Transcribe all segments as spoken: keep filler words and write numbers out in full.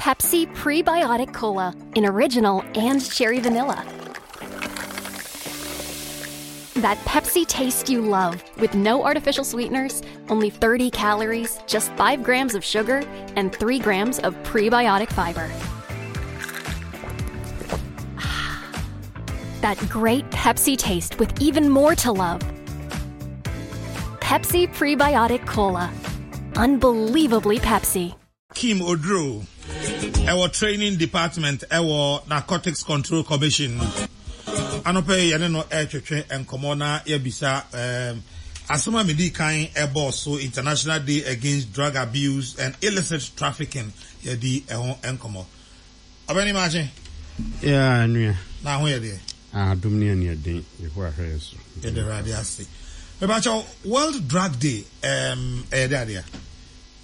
Pepsi Prebiotic Cola in original and cherry vanilla. That Pepsi taste you love with no artificial sweeteners, only thirty calories, just five grams of sugar, and three grams of prebiotic fiber. That great Pepsi taste with even more to love. Pepsi Prebiotic Cola. Unbelievably Pepsi. Kim Oduro ɛwɔ training department ɛwɔ Narcotics Control Commission. Anɔpɛ yi yɛne no ɛretwetwe nkɔmmɔ na yɛbisa um, asɛm a medi kan ɛbɔɔ so, International Day Against Drug Abuse and Illicit Trafficking, yɛdi ɛho nkɔmmɔ. Ɔbɛni maakye. Yeah, nua. Na ho yɛ deɛ? Adom ne aniɛden, Yehowa hwɛ yɛ so. Yɛde Awurade ase. Mebakyɛw, World Drug Day um, ɛyɛ de adeɛ?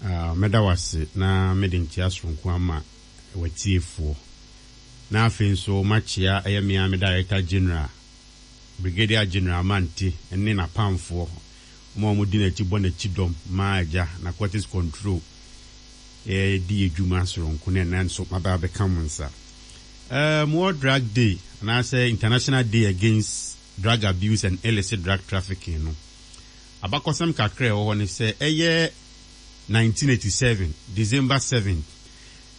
Uh, mɛda wase na mede nkyea soronko ama watiefoɔ. Na afei nso makyea ɛyɛ mmea me Director General, Brigadier General Mante ne n'apamfoɔ. Wɔn a wɔdi n'akyi bɔ n'akyi dɔm ma agya Narcotics Control di adwuma soronko ne ɛnɛ nso maba abɛka mo nsa. Um, World Drug Day anaasɛ International Day Against Drug Abuse and Illicit Drug Trafficking no, abakɔsɛm kakra ɛwɔ hɔ ne sɛ ɛyɛ nineteen eighty-seven December seventh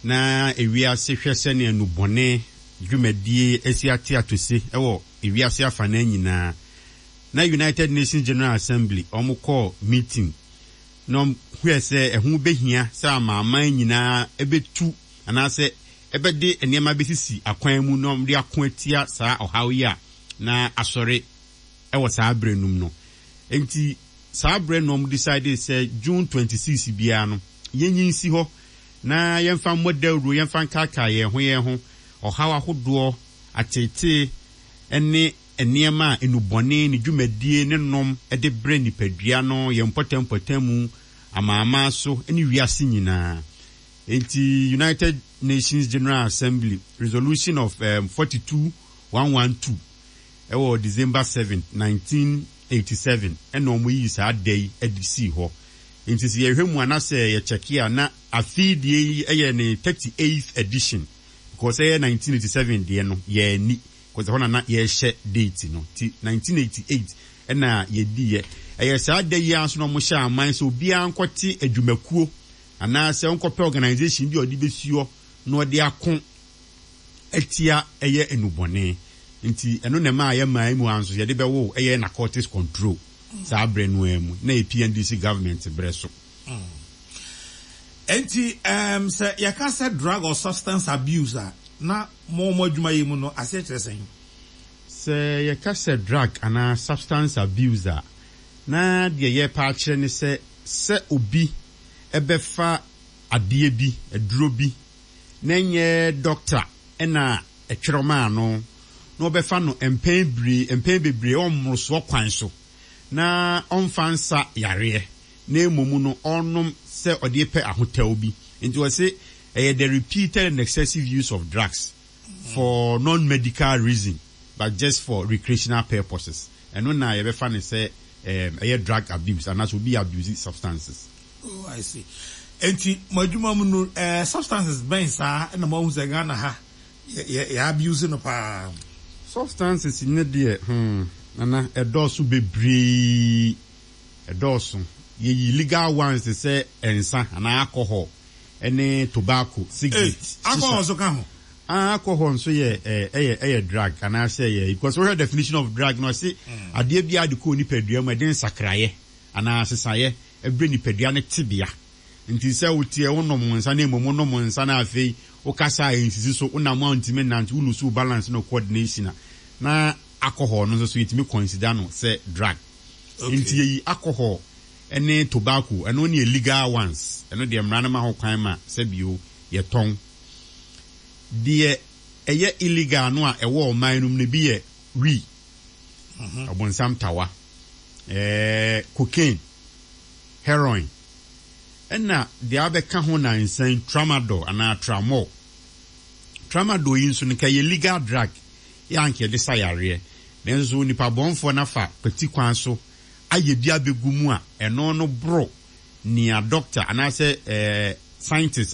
na ewiase hwɛ sɛnea nnubɔne dwumadie asi ate atose ɛwɔ ewiase afanan nyinaa, na United Nations General Assembly wɔn kɔɔ meeting na hwɛ sɛ ɛho behia sɛ amaaman nyinaa ɛbɛtu anaasɛ ɛbɛde nneɛma bɛsisi akwan mu na wɔde ako atia saa ɔhaw yi a na asɔre ɛwɔ saa berɛ num no. Nti saa berɛ no wɔn decide sɛ June twenty six biara no yɛnyi nsi hɔ na yɛmfa mmɔ dawuro, yɛmfa nkaakaa yɛn ho yɛn ho ɔhaw ahodoɔ, atetee ne nneɛma a nnubɔne ne dwumadie ne nom de brɛ nipadua no, yɛn mpɔtam mu, amaaman so ne wiase nyinaa. Nti United Nations General Assembly resolution of um, forty-two one one two ɛwɔ December seven nineteen eighty-seven ɛna wɔn yi saa da yi de sii hɔ. Nti sɛ yɛhwɛ mu anasɛ yɛkyɛke a, na afei deɛ yi yɛ ne thirty-eighth edition, because ɛyɛ nineteen eighty-seven deɛ no yɛani because ɛhɔ na na yɛrehyɛ date no. Ti nineteen eighty-eight ɛna yɛdiiɛ. Ɛyɛ saa da yi ara nso na wɔhyɛ aman sɛ obiara nkɔte adwumakuo anaasɛ nkɔpɛ organisation bi a ɔde bɛsi hɔ na ɔde ako atia ɛyɛ nnubɔne. Nti ɛno na ɛma a yɛ mu a nso yɛde bɛwo ɛyɛ Narcotics Control saa berɛ no ara mu na yɛ P N D C government berɛ so. Nti um, sɛ yɛka sɛ drug or substance abuse a, na mo mo adwuma yi mu no aseɛ kyerɛ sɛn? Sɛ yɛka sɛ drug anaa substance abuse a, na deɛ yɛrepa akyerɛ ne sɛ sɛ obi ɛbɛfa adeɛ bi, aduro bi, na nyɛ doctor ɛna ɛtwerɛ maa no, na ɔbɛfa no mpɛn bebree mpɛn bebree ɔmmorosoɔ kwan so, na ɔmfa nsa yareɛ, na mmom no ɔnom sɛ ɔde pɛ ahotɛw bi. Nti wɔse ɛyɛ the repeated and excessive use of drugs for non-medical reason but just for recreational purposes. Ɛno na yɛbɛfa ne sɛ ɛyɛ drug abuse anaasɛ obi abuse substances. Oh, I see. Nti mo adwuma mu no, eh, substances bɛn saa ɛna mo ahu sɛ Ghana ha yɛ yɛ yɛ abuse no paa? Substances ne deɛ, hmm, nana, ɛdɔɔso bebree, ɛdɔɔso. Yɛyi legal ones te sɛ nsa anaa alcohol ɛne tobacco, cigarette. Hey, alcohol nso ka ho? Ah, alcohol nso yɛ ɛyɛ ɛyɛ ɛyɛ drug anaasɛ yɛ, because wɔhwɛ definition of drug no, ɔse adeɛ bi a de kɔ nipadua mu ɛde nsakraeɛ anaa sesaeɛ ɛbrɛ nipadua no tebea. Nti sɛ wotie wonom nsa na mmom wonom nsa na afei wokasa a ɛnsisi so, wonam a ntumi nante, wo lose wo balance no, coordination a, na alcohol no nso so yɛtumi consider no sɛ drug. Okay. Nti yɛyi alcohol ɛne tobacco, ɛno ne yɛ legal ones. Ɛno deɛ mmara no ma ho kwan ma sɛbio yɛtɔn. Deɛ ɛyɛ illegal no a ɛwɔ ɔman no mu no bi yɛ wee, ɔbɔnsam tawa, ɛɛ cocaine, heroin, ɛna deɛ abɛka ho nansan tramadol anaa tramol. Tramadol yi nso no nka yɛ legal drug yɛ anka yɛde sa yareɛ, nanso nipa bɔnfoɔ nafa kwati kwan so ayɛ bi abɛgu mu a ɛno no boro nea doctor anaasɛ ɛɛ scientist.